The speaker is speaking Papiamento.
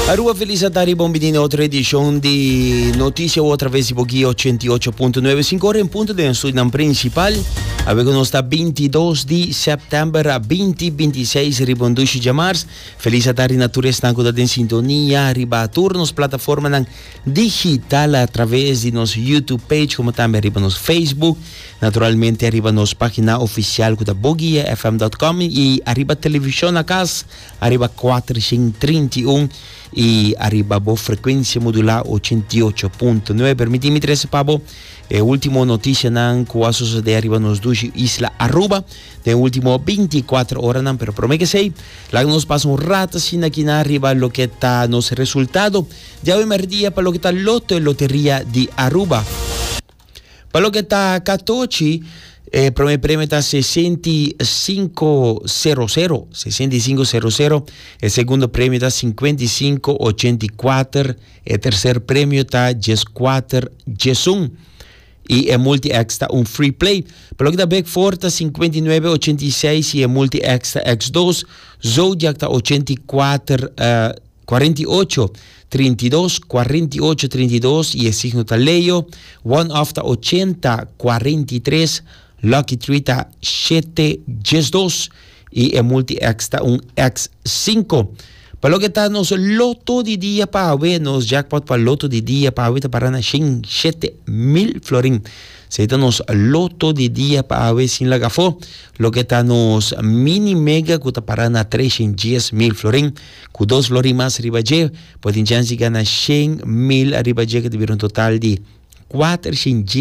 Aruba felis atardi bon bini na otro edicion di Noticia o otra vez di Boguia 88.9 5 ora en punto den estudionan principal. Awe cu nos ta 22 di september a 2026 riba un dushi djamars. Felis atardi na tur esnan cu ta den sintonia riba tur nos plataformanan digital a traves di nos YouTube page como tambe riba nos Facebook. Naturalmente ariba nos pagina oficial cu ta boguiafm.com y ariba television na cas ariba 431 y ariba bo frecuencia modula 88.9. Permiti mi trece pa bo e ultimo noticianan cu a sucede ariba nos dushi isla Aruba den ultimo 24 horanan. Pero prome que esey, laga nos pasa un rato asina aki na ariba loke ta nos resultado di awe merdia pa loke ta Loto e Loteria di Aruba. Pa loke ta katochi, e prome premio ta 6500, 6500, e segundo premio ta 5584, e tercer premio ta 1411 y e multi X ta un free play. Pa loke ta Big Four ta 5986 y e multi X ta X2, Zodiac ta 84 48, 32, 48, 32 y e signo ta Leo. One off ta 80, 43, Lucky Three ta 7, 12 y e multi X ta un X5. Pa loke ta nos loto di dia pa awe, nos jackpot pa loto di dia pa awe ta para na 107 mil florin. Esey ta nos loto di dia pa awe sin laga afo. Loke ta nos mini mega cu ta para na 310 mil florin. Cu dos florin mas riba dje, bo tin chance di gana 100 mil ariba dje, cu ta bira un total di 410.